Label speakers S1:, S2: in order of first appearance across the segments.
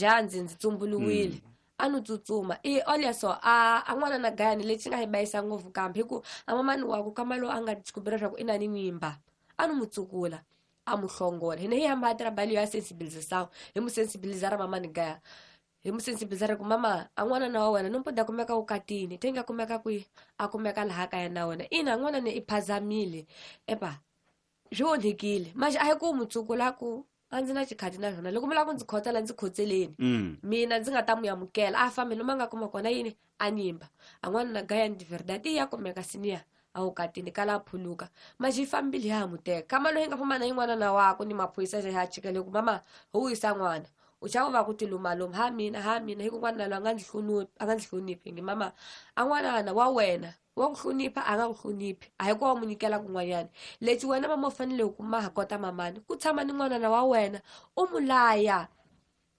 S1: Ja ndzi tsumbuluwile. A no tsutsuma. I olha só, a n'wana na gayani lexi nga hi bayisa ngopfu kambe hi ku a mamani wa ku kama lowu a nga descobrir leswaku i na ni nyimba. A no mu tsukula, a mu hlongola. Hina hi hamba hi trabalho ya sensibilização, hi mu sensibilizar mamani gaya. Hi mu sensibilizar ku mama, a n'wana na wa wena no mpoda kumeka u katini, te nga kumeka kwihi? A kumeka laha kaya na wena. Ina n'wana ni i phazamile. Epa, swi onhekile. Manje a hi ku mu tsukula ku a ndzi na xikhati na swona. Loko mi lava ku ndzi khotsela, ndzi khotseleni. Mina ndzi nga ta mu amukela. A fambi lomu a nga kuma kona yini? A nyimba. A n'wana na gaya de verdade ya kumeka siniya. A wu katini kala a phuluka. Manje yi fambile ya ha mu teka. Kama loyi hi nga famba na yin'wana na wakwe ni maphorisa ya chikele ku mama, ho wisa n'wana. U chava va ku tilumaluma, ha mina, ha mina, hi ku n'wana loyi a nga ndzi hloniphi, a nga ndzi hloniphi. Ngi mama, a n'wana wa wena wa ku hlonipha, a nga ku hloniphi. A hi ku wa mu nyikela kun'wanyana. Lexi wena mama u fanele ku ma ha kota mamani, ku tshama ni n'wana wa wena, u mu laya.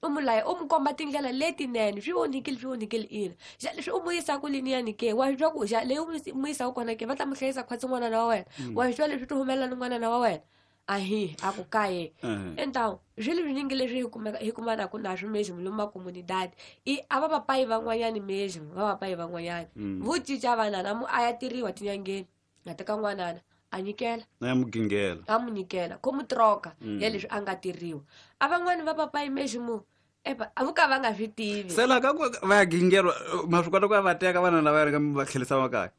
S1: U mu laya, u mu komba tindlela letinene. Swi onhikile, swi onhikile ina. Xa leswi u mu yisaka liniyani ke, wa swi twa ku xa leyi u mu yisaka kona ke, va ta mu hlayisa khwatsi n'wana wa wena. Wa swi twa leswi ti humelela ni n'wana wa wena. Ahi, a ku kaye. Então, swilo swinyingi leswi hi kumanaka na swo mesmo lomu makomunidade. I a va papai van'wanyani mesmo, va papai van'wanyani. Vo cinca vanana, mu a ya tirhiwa tinyangeni. A teka n'wanana, a nyikela.
S2: A ya mugingela.
S1: A mu nyikela, ko mu troka ya leswi a nga tirhiwa. A van'wani va papai mesmo, epa, a vo ka va nga swi tivi.
S2: Se laha ka ku va ya gingelwa, ma swi kota ku ya va teka vana lava ya va tlherisa makaya?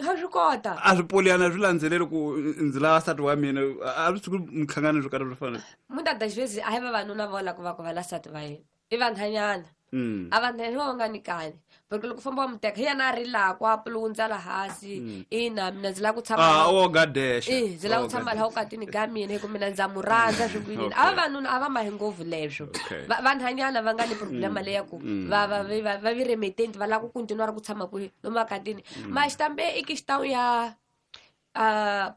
S1: Ha swi kota.
S2: A swi poliyana, swi landzeleli ku ndzi lava nsati wa mina, a swi tshuki minhlangano swo karhi swo fana.
S1: Muitas das vezes a hi vavanuna vo lava ku va ku va la nsati va yena. I vanhwanyana. A vanhwanyana va nga nyikani. Porque loko famba wa mu teka, hi yena a rilaka, a pulundza laha hansi. Ina, mina ndzi lava ku tshama
S2: Ah, o gadesha.
S1: Eh, ndzi lava ku
S2: O
S1: tshama laha ukatini ka mina, hi ku mina ndza mu rhandza swi ku yini. A vavanuna a va mahi ngopfu leswo. Vanhwanyana va nga ni problema leya ku va vi remitente, va lava ku continue ku tshama kwihi lomu makatini. Mas também i questão ya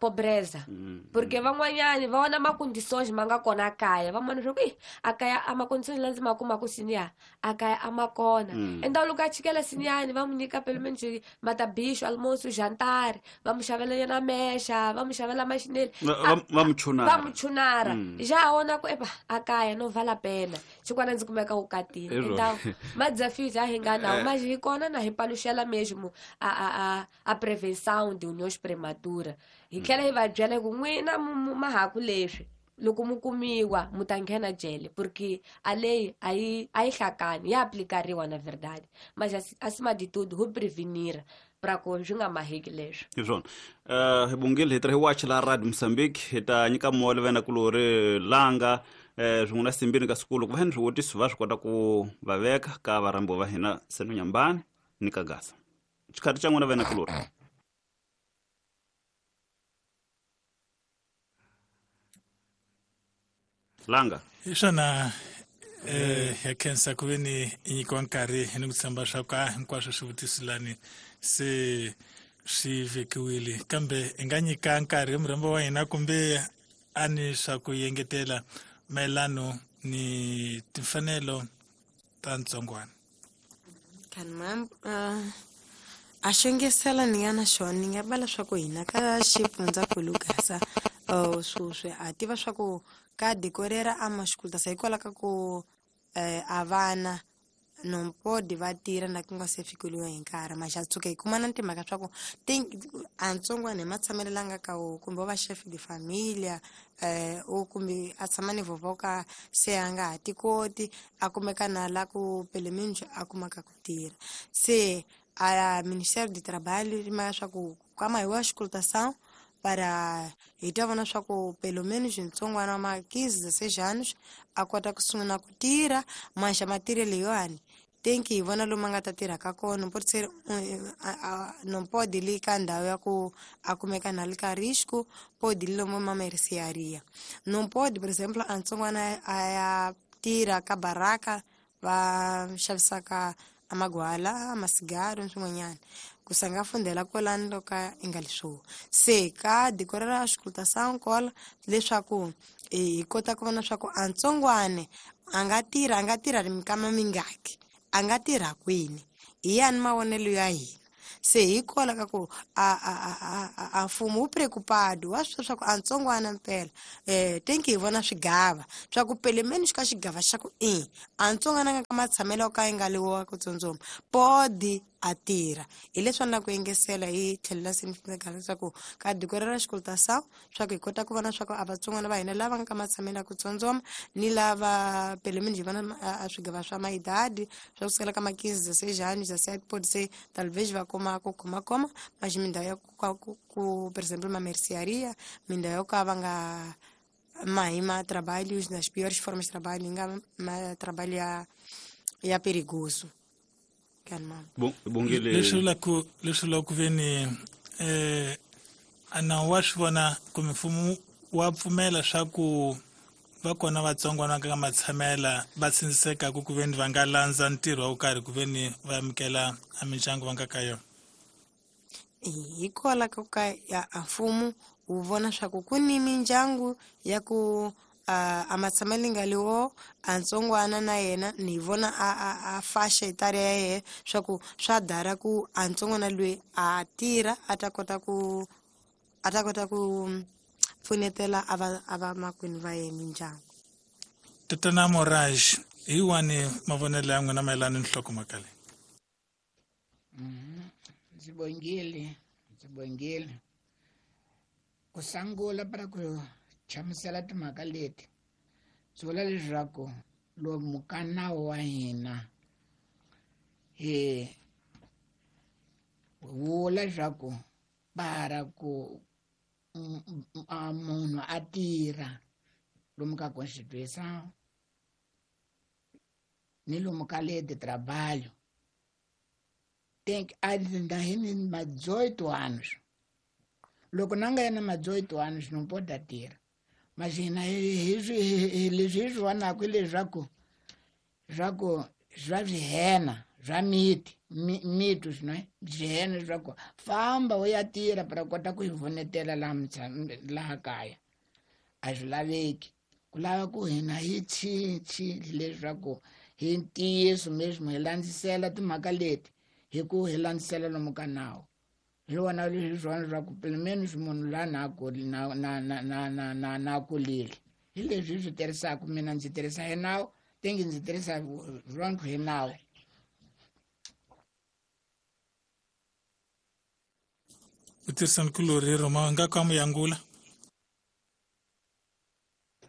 S1: pobreza. Porque van'wanyani va vona ma-condições ma nga kona kaya, va vona leswaku, ih, a kaya a ma-condições la ndzi ma kumaka siniya, a kaya a ma kona. Então loko a chikela siniyani, va n'wi nyika pelo menos matabicho, almoço, jantar, va n'wi xavela yena mexa, va n'wi xavela maxineli.
S2: Va n'wi chunara.
S1: Va n'wi chunara. Ja vona ku, epa, a kaya no vala pena. Xikwana ndzi kumeka wu katile.
S2: Hi rona.
S1: Então, ma desafios a hi nga nawo, mas hi kona na hi paluxela mesmo a prevenção de uniões prematura. Hi tlhela hi va byela ku n'wina ma ha ku leswi, loko mu kumiwa mu ta nghena jele, porque a leyi a yi hlakani, ya aplicariwa na verdade. Mas acima de tudo, ho prevenir pra ku swi nga maheki leswi.
S2: Hi swona. Hi bongile, hi tirha hi wachi la Radio Mozambique, hi ta nyika moya vena kulori langa, swin'we na Simbini ka siku loko va ni swivutiso va swi kota ku va veka ka varhambiwa va hina Seno Nyambani ni ka Gaza. Xikhathi xa n'wina vena kulori. Langa.
S3: Hi swona, ya khensa ku ve ni nyikiwa nkarhi ni ku tshemba swa ku a hinkwaswo swivutiso lani se swi vekiwile, kambe hi nga nyika nkarhi murhambi wa hina kumbe a ni swa ku yengetela mayelano ni timfanelo ta ntsongwana.
S4: Kan mam, a xengesela ni nga na xona, ni nga va leswaku hina ka xifundzankulu Gaza, sweswi ha tiva swa ku ka decorera a maxikuluta hikwalaho ka ku, a vana no pode va tirha na ku nga se fikeliwa hi nkarhi, ma xa tshuka hi kuma na timhaka swa ku a ntsongwana hi matshamelo la nga ka wo, kumbe wa va chef de familia, o kumbe a tshama ni vovó ka se a nga ha ti koti, a kumeka na la ku pele minjo a kumaka ku tirha. Se a Ministério do Trabalho ri maya swa ku kama hi wa exportação para hi ta vona swa ku pelo menos ntsongwana wa ma 15, 16 anos a kota ku sungula ku tirha, manxa matirhelo leyiwani tenki hi vona lomu a nga ta tirha ka kona, pode ser, não pode li ka ndhawu ya ku a kumeka na li ka risco, pode li lomu ma mercearia. Não pode, por exemplo, a ntsongwana a ya tirha ka baraka va xavisaka a magwala, a masigaro ni swin'wanyana, ku sa nga fundela kwalano loko a i nga leswo. Se ka decorera a exportação kola leswaku hi kota ku vona swa ku a ntsongwane a nga tirha, a nga tirha ri minkama mingaki, a nga tirha kwini, hi yani mavonelo ya hina. Se hikola ka ku a mfumo wu preocupado wa swi swa ku a ntsongwana mpela tenki hi vona swigava swa ku pelemeni xi ka xigava xa ku i a ntsongwana nga ka matshamelo yo ka yi nga liwa ku tsundzuma podi a tirha. Hi leswi na ku engesela hi tlhelela senifikanaka leswaku ka diko ra xikolota swa ku hi kota ku vona swa ku a vatsongwana va hina lava nga ka matshamelo ya ku tsundzuma ni lava pelemeni hi vona a swigava swa maidadi swa kusukela ka ma-15 16 anos 17 pode ser talvez va kuma ku khomakhoma mas mindhawu ya ku por exemplo uma mercearia mindhawu yo ka va nga mahi ma trabalhos nas piores formas de trabalho nga ma trabalho ya perigoso.
S2: Bongile
S3: leswi vula ku veni a nawu wa swi vona kumbe mfumo wa pfumela swa ku va kona vatsongwana ka matshamela va tsindzisekaka ku veni va nga landza ntirho wa ku karhi ku veni va amukela a mindyangu va nga ka yona.
S4: Hikwalaho ka ka ya a mfumo wu vona swa ku ku ni mindyangu ya ku a matshamelo nga liwo a ntsongwana na yena ni vona a faixa etária ya yena swa ku swa dara ku a ntsongwana loyi a tirha a ta kota ku pfunetela a va makwenu va yena mindyangu.
S3: Tatana Moraj, hi wani mavonelo ya n'wina mayelana ni nhlokomhaka leyi?
S5: Ndzi bongile ku sungula para ku chamusela timhaka leti ndzi vula leswaku lomu ka nawu wa hina hi vula leswaku para ku munhu a tirha lomu ka Constituição ni lomu ka lei de trabalho tem que ainda ma 18 anos. Loko na nga yena ma 18 anos não pode tirha. Mas hina hi leswi hi swi vonaka hi leswaku swa swihena swa miti mito swinene swihena leswaku famba u ya tirha para kota ku hi vonetela laha kaya a swi laveki. Ku lava ku hina hi cinci leswaku hi ntiyiso mesmo hi landzisela timhaka leti hi ku hi landzisela lomu ka nawu. Hi wona leswi swona swa ku pelo menos munhu la na na kulile hi leswi hi swi tirhisaka. Mina ndzi tirhisa hi nawu tengi ndzi tirhisa rona hi nawu.
S3: U tirhisa nkulori Roma nga ka muyangula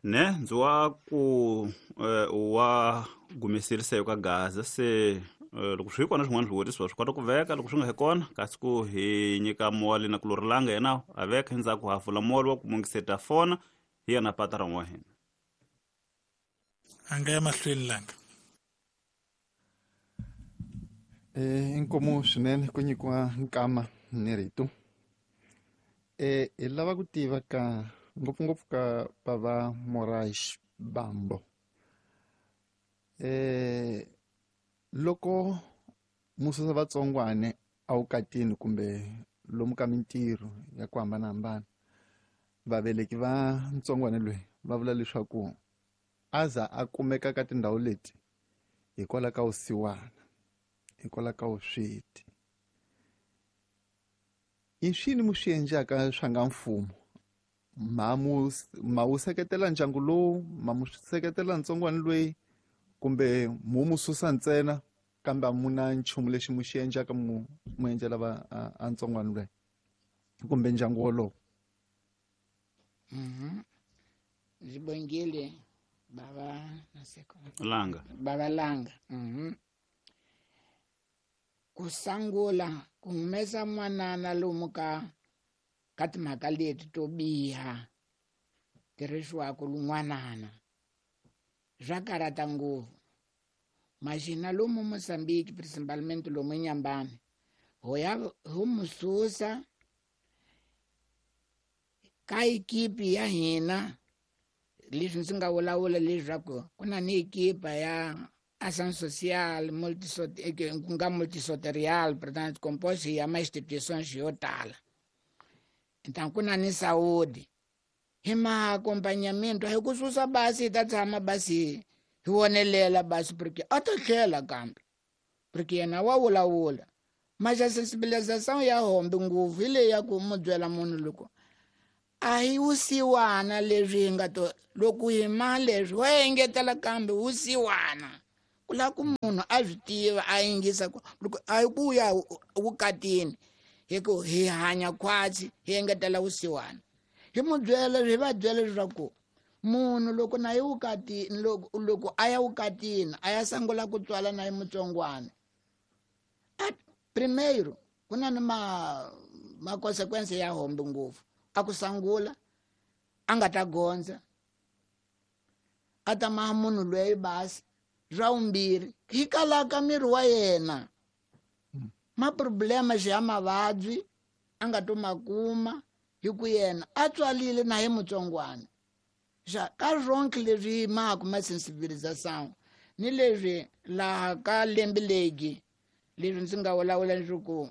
S2: ne ndzi wa ku wa gumisirisa ka Gaza se loko swi kona swin'wana swivutiso swi kota ku veka loko swi nga he kona kasi ku hi nyika moli na kulorilanga yena a veka endzhaku ha pfula moli wa ku mungiseta fona hi yena patron wa hina.
S3: A nga ya mahlweni langa.
S6: Inkomu swinene ku nyikiwa nkama ni rito. Hi lava ku tiva ka ngopfungopfu ka bava Moraes Bambo. Loko mususa vatsongwane a wukatini kumbe lomu ka mintirho ya ku hambanahambana vaveleki va ntsongwane loyi va vula leswaku aza a kumeka ka tindhawu leti hikwalaho ka vusiwana, hikwalaho ka vusweti. I swini mu swi endlaka swa nga mfumo ma wu seketela ndyangu lowu, ma mu seketela ntsongwana loyi kumbe mu mu susa ntsena kambe a mu na nchumu lexi mu xi endlaka mu endlela va a ntsongwana loyi kumbe ndyangu wolowo?
S5: Ndzi bongile bava
S2: Langa.
S5: Bava Langa. Ku sungula ku humesa n'wanana lomu ka timhaka leti to biha tirhisiwaka lun'wanana swa karhata ngopfu. Mas hina lomu Mozambique principalmente lomu Inhambane ho ya ho mu susa ka ekipi ya hina leswi ndzi nga vulavula leswaku ku na ni ekipa ya ação social ku nga multisoterial portanto composto ya ma instituições yo tala. Então ku na ni saúde hi ma acompanhamento hi ku susa basi hi ta tshama basi hi vonelela basi porque a ta tlhela kambe porque yena wa vulavula. Mas a sensibilização ya hombe ngopfu hi leyi ya ku mu byela munhu loko a hi wusiwana leswi hi nga to loko hi ma leswi wa engetela kambe wusiwana ku lava ku munhu a swi tiva a yingisa ku loko a hi ku ya vukatini hi ku hi hanya khwatsi hi engetela vusiwana. Hi mu byela hi va byela leswaku munhu loko na ye vukatini loko a ya vukatini a ya sungula ku tswala na ye mutsongwana primeiro ku na ni ma consequence ya hombe ngopfu a ku sangula a nga ta gondza a ta maha munhu loyi basi swa vumbirhi hi kalaka miri wa yena ma problema ya mavabyi a nga to ma kuma hi ku yena a tswalile na hi mutsongwana. Xa ka swonke leswi maku ma sensibilização ni leswi laha ka lembe legi leswi ndzi nga vulavula leswaku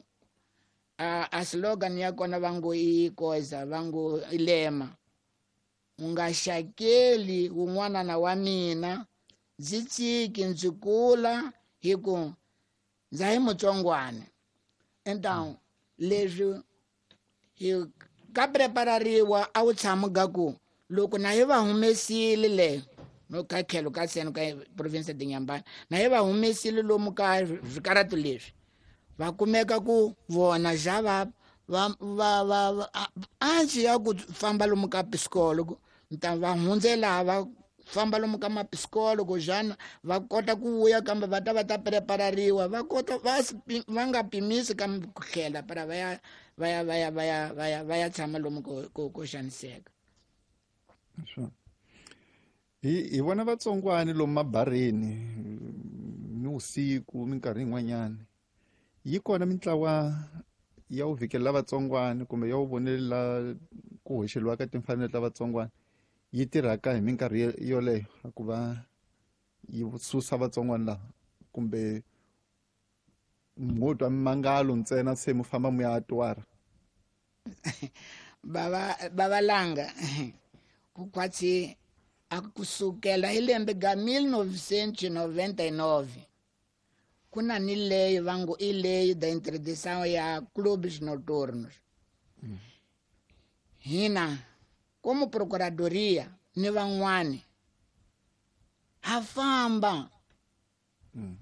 S5: a slogan ya kona va ngo i koza va ngo i lema u nga xakeli wun'wana na wa mina ndzi tshiki ndzi kula hi ku ndza hi mutsongwana. Então leswi hi ka preparariwa a wu tshami ga ku loko na hi va humesile le no ka tlhelo ka seno ka province de Inhambane na hi va humesile lomu ka swikaratu leswi va kumeka ku vona xa va va ansi ya ku famba lomu ka psikologo nta va hundzela va famba lomu ka mapsikologo xana va kota ku vuya kambe va ta va ta preparariwa va kota va nga pimisi kambe ku tlhela para va ya va ya va ya va ya va ya va ya tshama lomu ko xaniseka.
S6: Hi vona vatsongwani lomu mabareni ni vusiku minkarhi yin'wanyana yi kona mintlawa ya wu vhikelela vatsongwani kumbe ya wu vonelela ku hoxeliwa ka timfanelo ta vatsongwani yi tirhaka hi minkarhi yoleyo ku va yi susa vatsongwani lava kumbe mo twa mimangalo ntsena se mu famba mu ya twara.
S5: Babalanga ku kwatsi a kusukela hi lembe ga 1999 ku na ni lei va ngo i lei da interdição ya clubes noturnos. Hina como procuradoria ni van'wani ha famba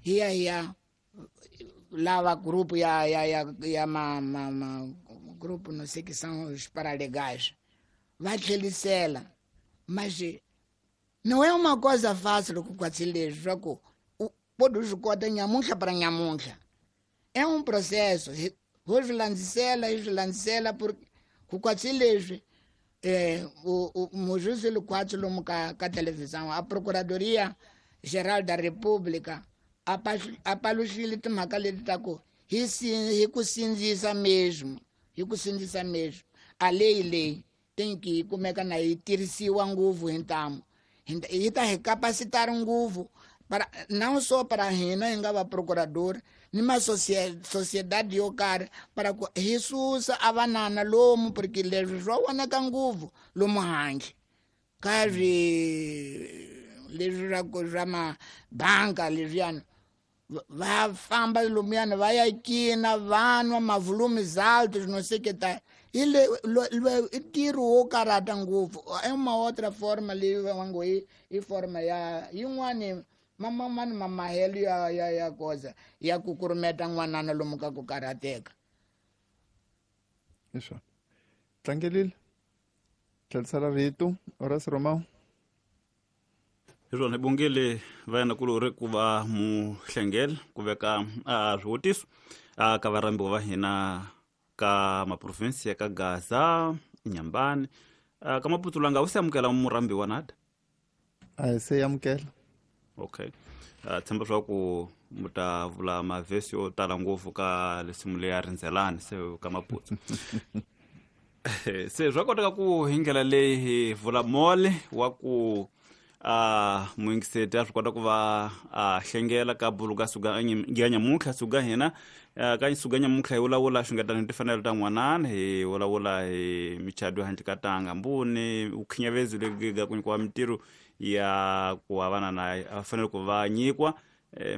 S5: hi ya hi ya lava grupo ya ya ya ya ma ma ma grupo não sei que são os paralegais va tlhelisela. Mas não é uma coisa fácil ku kwatsi leswi swa ku pode swi kota nyamuntlha para nyamuntlha. É um processo ho swi landzisela hi swi landzisela porque ku kwatsi leswi mujuzi lukwatsi lomu ka televisão a Procuradoria Geral da República a paluxile timhaka leti ta ku hi ku sindzisa mesmo hi ku sindzisa mesmo a leyi leyi tem que yi kumeka na yi tirhisiwa ngopfu hi ntamu yi ta hi capacitar ngopfu para não só para hina hi nga va procurador ni ma sociedade yo karhi para ku hi susa a vanana lomu porque leswi swa vonaka ngopfu lomu handle ka swi leswi swa ku swa mabanka leswiyani va famba lomuyana va ya cina va nwa mavolumes altos não sei que tá i le i ntirho wo karhata ngopfu. É uma outra forma leyi va ngo i forma ya yin'wani mamamani mamahelo ya ya ya koza ya ku kurumeta n'wanana lomu ka ku karhateka.
S6: Leswo tlangelile tlhelisela rito Horace Romao.
S2: Hi swona hi bongile va yena kulori ku va muhlengele ku veka swivutiso ka varhambiwa va hina ka maprovinsi ya ka Gaza, Inhambane, ka Maputo langa wu se amukela murhambiwa nada?
S6: A hi se amukela.
S2: Okay. Tshemba swa ku mu ta vula mavhesi yo tala ngopfu ka lesimu leya rindzelani se ka Maputo. Se swa koteka ku hi ndlela leyi hi vula mole wa ku muyingiseti a swi kota ku va a hlengela ka bulu ka suga ya nyamuntlha suga hina ka suga nyamuntlha hi vulavula xungetana hi timfanelo ta n'wanana hi vulavula hi michado handle ka tanga mbuni vukhinyavezi lebyi ku nyikiwa mintirho ya ku va vana na va fanele ku va nyikiwa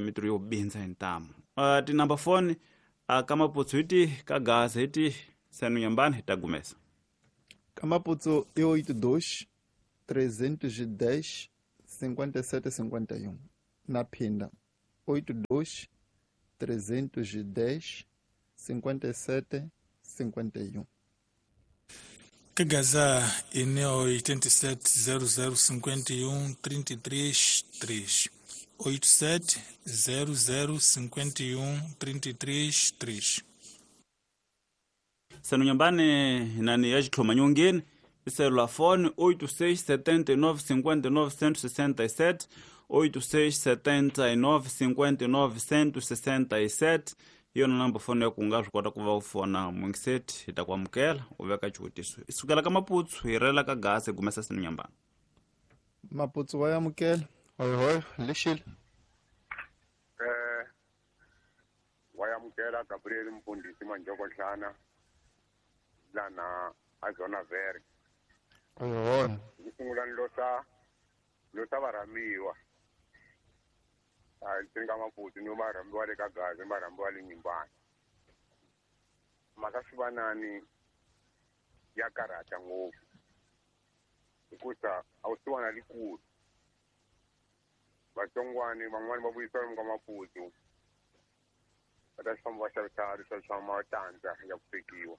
S2: mintirho yo bindza hi ntamu. Tinumber phone A ka Maputsu hi tihi, ka Gaza hi tihi? Seno Nyambani hi ta gumesa.
S6: Ka Maputsu i 82 310 57 51. Na phinda 82 310 57 51.
S3: Ka Gaza i 87 00 51 33 3. 87 00 51 33 3.
S2: Seno Nyambani nani ya xitlhoma nyongeni i selulafoni 86 79 59 167, 86 79 59 167 hi yona namba foni ya ku nga swi kota ku va u fona mungiseti hi ta ku amukela u veka xivutiso. Hi sukela ka Maputsu hi rela ka Gaza hi gumesa Seno Nyambani.
S6: Maputsu wa amukela. Hoyo lexile.
S7: Wa amukela Gabriel Mfundisi Manjoko Nhlana lana a Zona Verde.
S6: Hoyo.
S7: Ku sungula losa varhamiwa. A ndzi Maputsu ni varhamiwa le ka Gaza, varhamiwa le Nyimbani. Mhaka swivanani ya karhata ngopfu hikusa a wu siwana likulu. Vatsongwani van'wani va vuyisiwa lomu ka Maputsu va ta famba va xavisa leswa swa matandza ya ku swekiwa,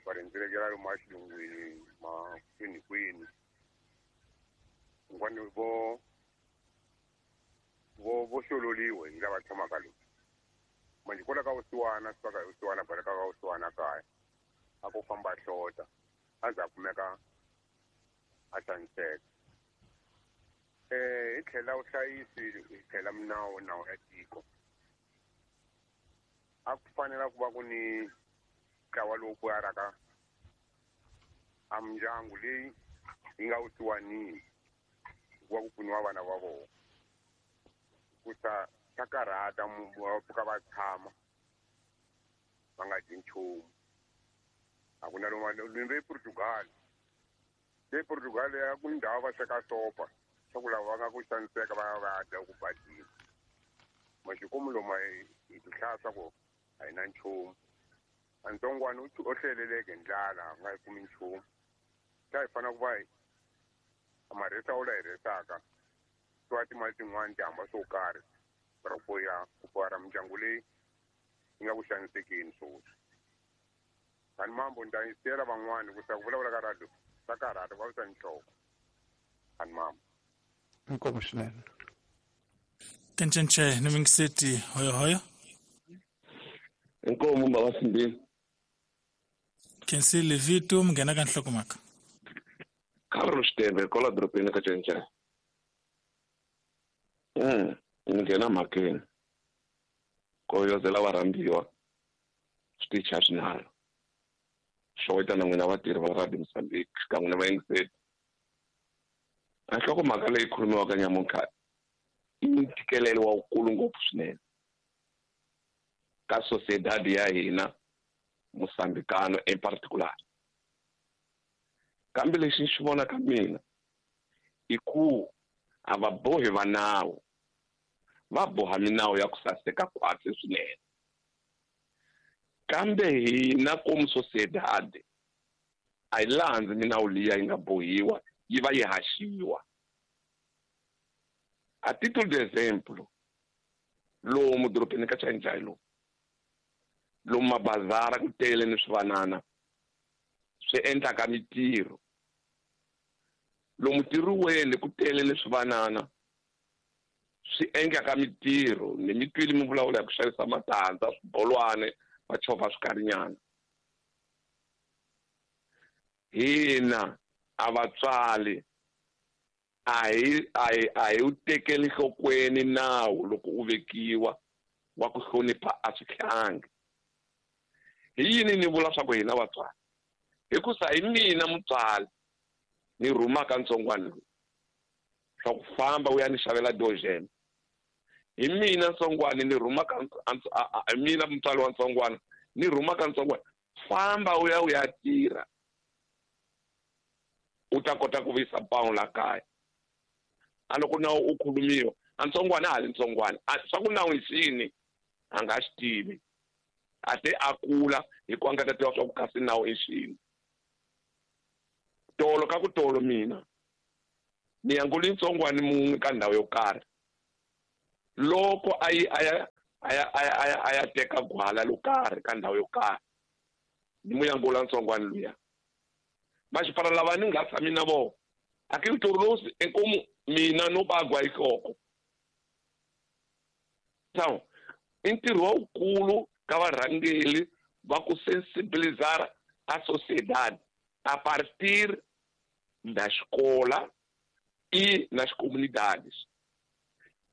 S7: va rhendzelekela lomu a xilungwini ma kwini kwini. Un'wani vo xololiwe hi lava tshamaka lomu. Manjhe kwala ka vusiwana swi ka vusiwana baleka ka vusiwana kaya a ku famba hlota a za kumeka a xaniseka. Hi tlhela vuhlayisi hi tlhela minawu nawu ya tiko. A ku fanela ku va ku ni ntlawa lowu pfuaraka a mindyangu leyi yi nga vusiwanini ku va ku pfuniwa vana va vona. Ku ta ta karhata va pfuka va tshama va nga dyi nchumu. A ku na lomu le Portugal. Le Portugal ya ku ndhawu va sweka sopa swa ku lava va nga ku xaniseka va ya va dya ku badini. Maxikomu lomu hi ti hlaya swa ku a hi na nchumu. A ntsongwana u hleleleke ndlala a nga yi kumi nchumu. Ta hi fanele ku va hi marhesa wu la hi rhesaka swa timali tin'wani ti hamba swo karhi ra ku ya ku pfara mindyangu leyi yi nga ku xanisekeni swoswi. Kani mambo ni ta yi siyela van'wani ku sa ku vulavula ka radio swa karhata ku vavisa nhloko. Kani mambo.
S6: Inkomu swinene.
S3: Kencenche ni mingiseti hoyo hoyo.
S8: Inkomu baba Simbini.
S3: Kensile Vito munghena ka nhlokomhaka.
S8: Carlos Tembe kwala dorobeni ka Cenchene. Ni nghena mhakeni. Koyozela varhambiwa switichi a swi nalo. Xoweta na n'wina vatirhi va Radio Mozambique xikan'we na vayingiseri. A nhlokomhaka leyi khulumiwaka nyamuntlha i ntikelelo wa wukulu ngopfu swinene ka sociedad ya hina Mozambicano in particular. Kambe lexi ni xi vonaka mina i ku a va bohi va nawu, va boha minawu ya ku saseka khwatsi swinene. Kambe hina komu sociedad a yi landzi minawu liya yi nga bohiwa yi va yi haxiwa. A título de exemplo, lomu dorobeni ka Chainchai lomu lomu mabazara ku tele ni swivanana swi endlaka mitirho, lomu tirhiweni ku tele ni swivanana swi endlaka mitirho. Ni mi twile mi vulavula hi ku xavisa matandza, swibolwane, va chovha swikarinyana. Hina a vatswari a hi wu tekeli nhlokweni nawu loko u vekiwa wa ku hlonipha a swihlangi. Hi yini ni vula swa ku hina vatswari? Hikusa hi mina mutswari ni rhumaka ntsongwana lowu swa ku famba u ya ni xavela dojene. Hi mina ntsongwana ni rhumaka hi mina mutswari wa ntsongwana ni rhumaka ntsongwana famba u ya u ya tirha u ta kota ku vuyisa pawulo la kaya. A loko nawu u khulumiwa a ntsongwana a ha ri ntsongwana swa ku nawu i xini a nga xi tivi. A te a kula hi ku a nga ta tiva swa ku kasi nawu i xini. Tolo ka ku tolo mina ni yanguli ntsongwani mun'we ka ndhawu yo karhi. Loko a yi a ya teka gwala lo karhi ka ndhawu yo karhi, ni mu yangula ntsongwani luya. Maxipfala lava ni nga tshami na vona aquilo tornou-se em como mina no bagua ihloko. Então, i ntirho wukulu ka varhangeli va ku sensibilizar a sociedade a partir da escola e nas comunidades.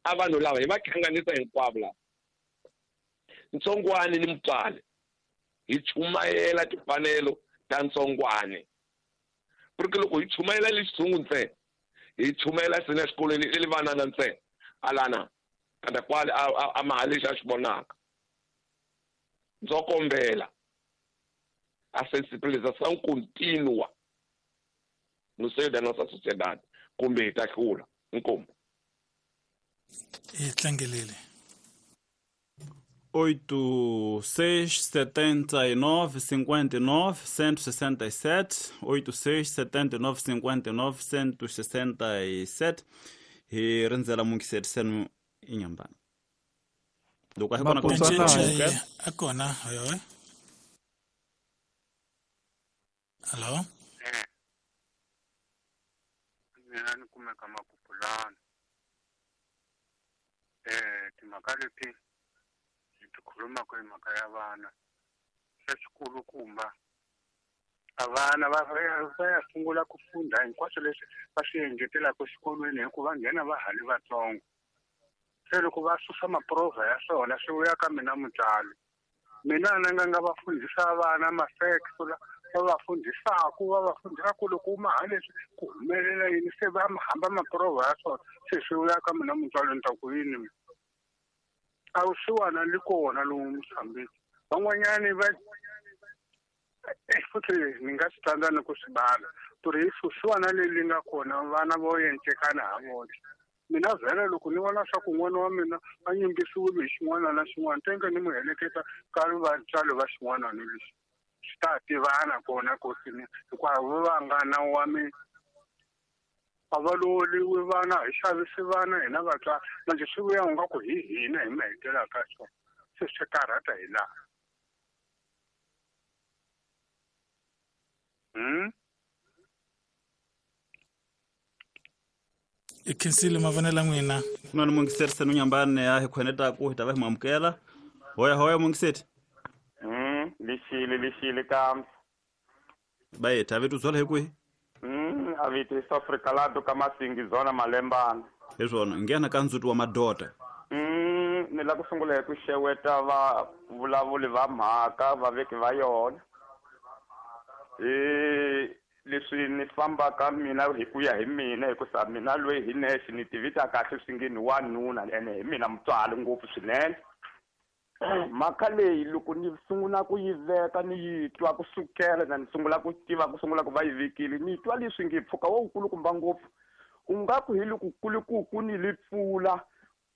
S8: A vanhu lava hi va hlanganisa hinkwavo lava, ntsongwani ni mutswari, hi chumayela timfanelo ta ntsongwani. Porque loko hi chumayela le xitshungu ntsena, hi chumayela sina exikolweni le vanana ntsena, alana kanda kwale a maha lexi a xi vonaka. Ndzo kombela a sensibilização contínua no seio da nossa sociedade, kumbe hi ta hlula. Inkomu.
S3: Hi tlangelele.
S2: 8 6 79 59 167 8 6 79 59 167 hi rindzela mungiserisenu inyambana. Loko a hi kona
S3: a kona hoyo. Hello.
S7: Mina ni kumeka Makupulana. Timhaka leti hi khulumaka hi mhaka ya vana, xa xikulukumba a vana va ya sungula ku funda hinkwaswo leswi va swi engetelaka exikolweni hikuva nghena va ha ri vatsongo. Se loko va susa maprovha ya swona swi vuya ka mina mutswari. Mina na nga va fundhisa vana ma-facts va va fundhisaku va va fundhisaku loko u maha leswi ku humelela yini, se va hamba maprovha ya swona se swi vuya ka mina mutswari ni ta ku yini. A wu siwana li kona lowu Mozambique. Van'wanyani va futhi ni nga swi tsandza ni ku swi bala ku ri vusiwana leyi nga kona vana vo encekana ha vona. Mina vhele loko ni vona swa ku n'wana wa mina a nyimbisiwile hi xin'wana na xin'wana, tenge ni mu heleketa ka vatswari va xin'wana ni lexi swi ta tivana kona kosini, hikuva va nga na wa mina a va lovoliwi vana, hi xavisi vana hina vatswari. Manje swi vuya u nga ku hi hina hi mi hetelaka swona, se swi karhata hi laha.
S3: I khensile mavonelo n'wina.
S2: Ku na ni mungiserisenu nyambani a hi khwenetaku hi ta va hi mu amukela. Hoya hoya mungiseti.
S9: Lixile kambe.
S2: Bayethu a vito byala hi kwihi?
S9: A vito i Afrika lato ka Masingi zona Malembana.
S2: Hi swona, nghena ka ndzuti wa madota.
S9: Ni la ku sungula hi ku xeweta va vulavuli va mhaka vaveki va yona. Leswi ni fambaka mina hi ku ya hi mina, hikusa mina loyi hi nexe ni tivita kahle swi nge ni wanuna ene hi mina mutswari ngopfu swinene. Mhaka leyi loko ni sungula ku yi veka ni yi twa kusukela na ni sungula ku tiva ku sungula ku va yi vekile, ni twa leswi nge mpfhuka wo wukulukumba ngopfu u nga ku hi loko kulukuku ni li pfula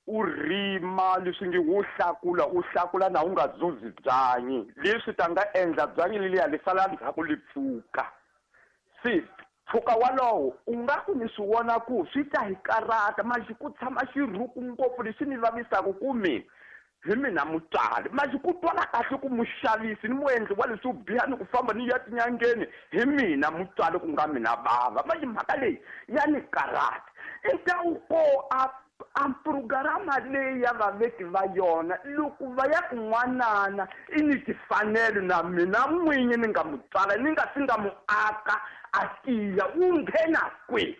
S9: u rima leswi nge wo hlakula u hlakula na u nga zuzi byanyi, leswi ta nga endla byanyi leliya li sala ndzhaku li pfuka. Se mpfhuka walowo u nga ku ni swi vona ku swi ta hi karata manje ku tshama xirhuku ngopfu lexi ni vavisaka ku mina hi mina mutswari. Manje ku twala kahle ku muxavisi ni muendli wa leswo biha ni ku famba ni ya tinyangeni hi mina mutswari ku nga mina bava. Manje mhaka leyi ya ni karata. I ta wu ko a programa leyi ya vaveki va yona loko va ya kun'wanana i ni timfanelo na mina n'winyi ni nga mutswala ni nga si nga mu aka a tiya wu nghena kwihi.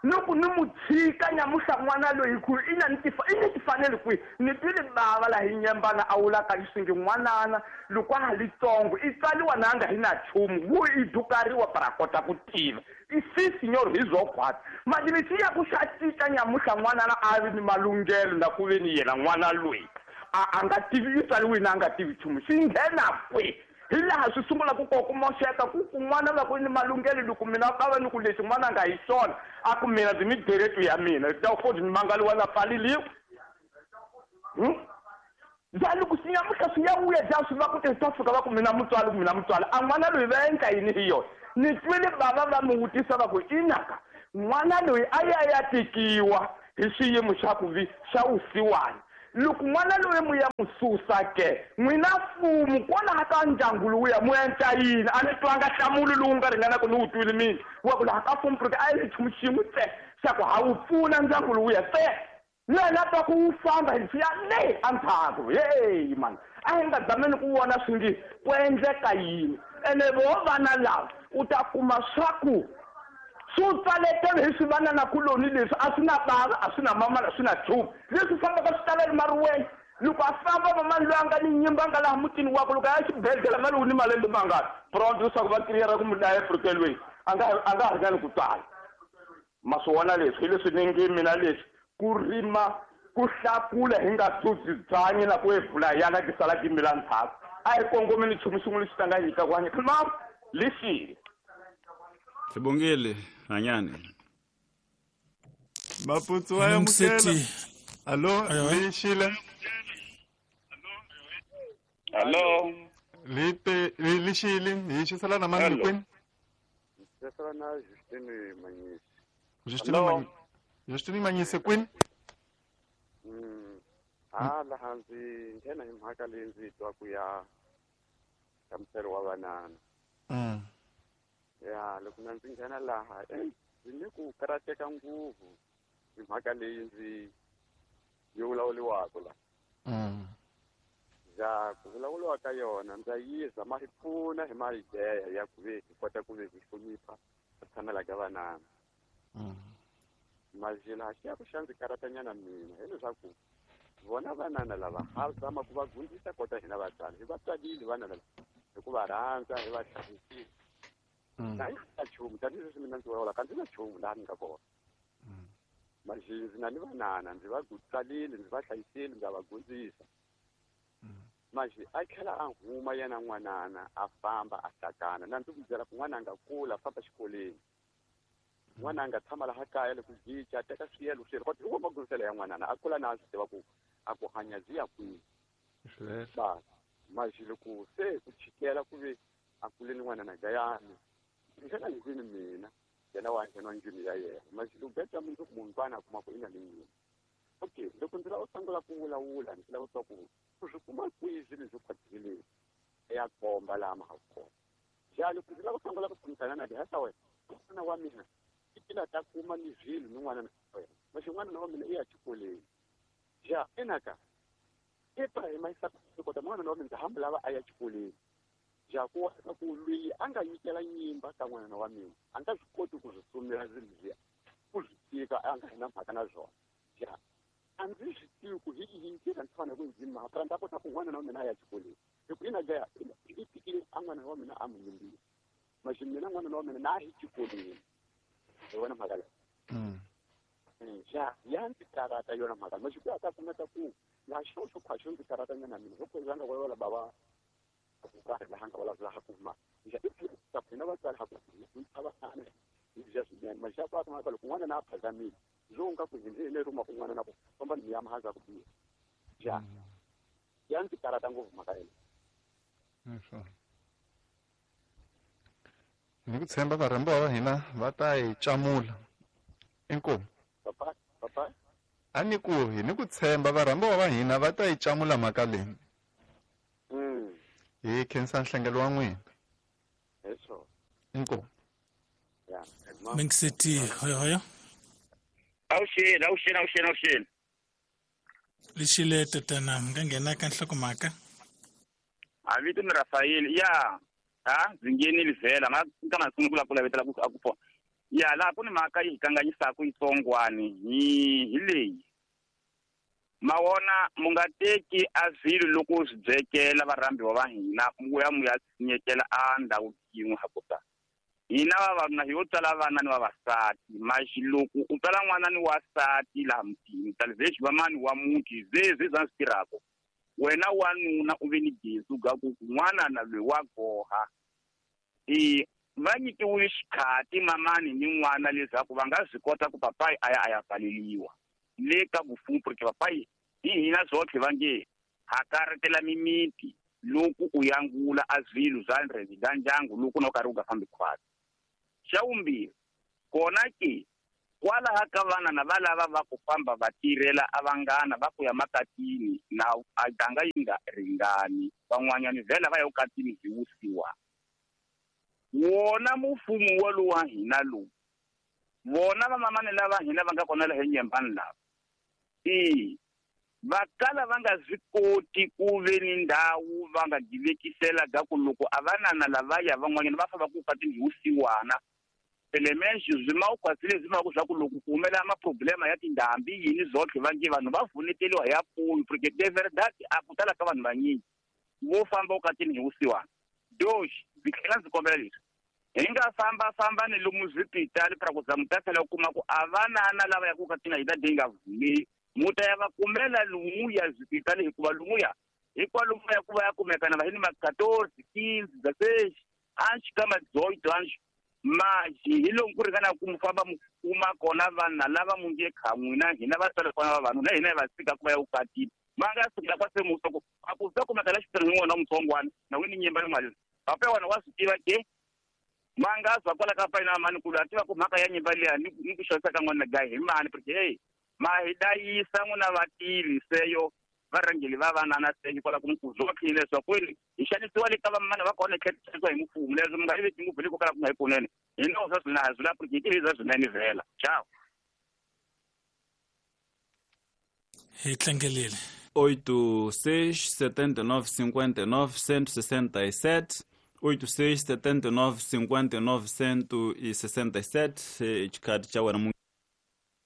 S9: Loko ni mu tshika nyamuhla n'wana loyi ku i na ni i ni timfanelo kwihi. Ni twile bava laha hi nyembana a vulaka leswi nge n'wanana loko a ha li tsongo i tswariwa na nga hi na nchumu wu i dukariwa para kota ku tiva. I si senhor hi zwo khwatsi. Manje lexi ya ku xa cinca nyamuhla n'wanana a ri ni malunghelo na ku ve ni yena n'wana loyi a nga tivi i tswariwile na a nga tivi nchumu xi nghena kwihi. Hi laha swi sungula ku koka moxeka ku kun'wana va ku ni malunghelo loko mina va va ni ku lexi n'wana a nga hi xona a ku mina ndzi ni direto ya mina ta futhi ni mangaliwa na pfaleliwa. Ya loko xi nyamuhla swi ya vuya ja swi va ku ta fika va ku mina mutswali a n'wana loyi va endla yini hi yona ni twile bava va mi vutisa va ku inaka n'wana loyi a ya tikiwa hi xiyimo xa ku vi xa vusiwana loko n'wana loyi mu ya mu susa ke n'wina mfumo kwalaha ka ndyangu lowuya mu endla yini a ni twanga nhlamulo lowu nga ringanaka ni wu twile mina wa ku laha ka mfumo porque a yi nchumu xin'we tse xa ku ha wu pfuna ndyangu lowuya tse lena twa ku wu famba hi ya le endzhaku heyi mani a hi nga zameni ku vona swi nge ku endleka yini ene vo vana lava u ta kuma swa ku swi tsaletele hi swivananakuloni leswi a swi na bava a swi na mama a swi na nchumu leswi fambaka swi talela mariweni loko a famba mamani loyi a nga ni nyimba nga laha mutini wakwe loko a ya xibedhlele mali wu ni malembe mangani pronto leswaku va kiriyera ku mudlaya efrikelweni a nga ha ringani ku tsala ma swi vona leswi hi leswi ni nge mina leswi ku rima ku hlakula hi nga dzudzi byanyi na ku evula yana ti sala ti mila ndzhaku a hi kongomeni nchumu xin'we lexi ta nga nyika ku hanya ma lexile
S2: Sibongile hanyani
S6: Maputsu wa yamukela. Allo lexile.
S10: Allo
S6: lite lexile hi xisala na mani kwini?
S10: Xisala na Justine Manyisi.
S6: Justine Manyisi kwini?
S10: Laha ndzi nghena hi mhaka leyi ndzi twa ku ya nhlamuselo wa vanana. Ya loko na ndzi nghena laha ndzi ni ku karateka ngopfu hi mhaka leyi ndzi yi vulavuriwaka la. Ya ku vulavuriwa ka yona ndza yiza ma hi pfuna hi mayideya ya ku ve hi kota ku ve hi hlonipha ku tshamela ka vanana. Mazila xi ya ku xa ndzi karatanyana mina hileswaku vona vanana lava ha zama ku va gundisa kota hina vatswari hi va tswalile vana lava hi ku va rhandza hi va hlayisile. Na hi na nchumu tanihileswi mina ndzi vulavulaka ndzi na nchumu laha ni nga kona. Manje ndzi na ni vanana ndzi va tswalile ndzi va hlayisile ndza va gundzisa. Manje a tlhela a huma yena n'wanana a famba a hlakana na ndzi ku byela ku n'wana a nga kula a famba xikolweni. N'wana a nga tshama laha kaya loko jica a teka swiyelo swilo kodwa hi wo magundziselo ya n'wanana a kula na a swi tiva ku a ku hanya byi ya kwihi. Manje loko se ku chikela ku ve a kule ni n'wanana gayani nghena ndlwini mina yena wa nghena ndlwini ya yena manje loko beta mundzuku munhu a kuma ku i na ni nyimba. Okay loko ndzi lava u sungula ku vulavula ndzi lava ku ku swi kuma kwihi swilo swo khwatileni ya komba laha ma ha kona. Ja loko ndzi lava ku sungula ku tshamisana na dihasa wena n'wana wa mina i tila ta kuma ni swilo ni n'wana na wena manje n'wana wa mina i ya xikolweni. Ja enaka Ibrahim a kota n'wana wa mina ndzi hamba lava a ya xikolweni. Ja ku ku loyi a nga nyikela nyimba ka n'wana wa mina a nga swi koti ku swi sumela swilo leswiya ku swi tika a nga na mhaka na swona. Ja a ndzi swi tivi ku hi yihi ndlela ndzi fanele ku ndzi mhaka ndza kota ku n'wana wa mina a ya xikolweni hi ku ina ja i tikile a n'wana wa mina a mu nyimbile manje mina n'wana wa mina na hi xikolweni hi wona mhaka leyi. Ja ya ndzi karata yona mhaka manje ku ya ta kumeka ku laha xo xo khwaxo ndzi karata nyana mina loko ndzi nga vulavula bava ku karhi laha nga vulavula ha ku ma ja i ta hina vatswari ha ku hi va hana hi bya swinene manje ku ta loko n'wana na a phazamile byo nga ku hi le ruma ku n'wana na ku famba ni ya mahaza ku biha. Ja ya ndzi karata ngopfu mhaka leyi.
S6: Ni ku tshemba varhambiwa va hina va ta hi camula. Inkomu.
S10: Papa papa
S6: a ni ku hi ni ku tshemba varhambiwa va hina va ta yi camula mhaka leyi. Hi khensa nhlengelo wa n'wina.
S10: Eso.
S6: Inkomu.
S10: Ya.
S3: Mingiseti hoyo hoyo.
S10: Awuxeni.
S3: Lexile tatana mi nga nghena ka nhlokomhaka.
S10: A vito ni Rafael ya ha ndzi nghenile vhela nga ka nga sungula ku lavetela ku a ku pfuna. Ya laha ku ni mhaka yi hi kanganyisaka yitsongwani hi leyi. Mawona mu nga teki a swilo loko swi byekela varhambiwa va hina mu ya mu ya tshinyekela a ndhawu yin'we ha kota. Hina vavanuna hi yo tswala vana ni vavasati maxi loko u tswala n'wana ni wasati laha mutini talvez va mani wa muti zezwe za swi tirhaka wena wanuna u ve ni gezi ga ku n'wana na loyi wa goha va nyikiwile xikhati mamani ni n'wana leswaku va nga swi kota ku papayi a ya a ya pfaleliwa le ka vufumu porque papayi hi hina zwotlhe va nge
S11: Hakaretela mimiti loko u yangula a swilo swa ndrezi ndyangu loko na u karhi u nga fambi khwatsi. Xa vumbirhi kona ke kwalaha ka vana na va lava va ku famba va tirhela a vanghana va ku ya makatini na a ganga yi nga ringani, van'wanyani vhela va ya ukatini hi wusiwa. Wona mufumo walowu wa hina lowu, vona vamamani lava hina va nga kona laha enyembani lava, va kala va nga swi koti ku ve ni ndhawu va nga divekisela ka ku loko a vanana lavaya van'wanyana va famba ku ukatini hi wusiwana. Elements swi ma ukhwatsile swi ma ku swa ku loko ku humelela maproblema ya tindhambi yini zotlhe va nge vanhu va vuneteliwa hi apfuyo, porque de verdade a ku tala ka vanhu vanyingi vo famba ukatini hi wusiwana. Doxi ndzi tlhela ndzi kombela leswi hi nga fambafamba ni lomu swipitali pra ku za mu ta tlhela u kuma ku a vanana lava ya ku ukatini hi ta yi nga vumeli mu ta ya va kumela lumuya swipitali, hikuva lumuya hikwalomuya ku va ya kumekana va hi ni ma 14 15 16 anxi ka ma 18 anxi maji hi lomu ku ringana ku mu famba mu kuma kona vanhu lava mu nge kha n'wina hina vatswari kona va vanhu na hina hi va tshika ku va ya vukatini va nga sukela kwa se musa ku a ku za kumeka la xipirhi n'wana wa mutsongwana na wini nyimba ni mali papa wena wa swi tiva ke ma nga zwa kwala ka payina mani ku a tiva ku mhaka ya nyimba liya ni ku xavisa ka n'wana gayi hi mani, porque hey ma hi dayisa n'wina vativi seyo varhangeli va vanana se hikwalaho ku mukhuzu wa khini leswaku hi xanisiwa le ka vamana va kona hi tlhela xanisiwa hi mfumo leswi mi nga yi veki ngopfu le ko kala ku nga yi kunene hi nawu swa swina hi swi porque hi tivi swa swinene vhela. Ciao.
S3: Hi tlangelile.
S2: 8 6 79 59 167 8 6 79 59 167 xikhathi xa wena.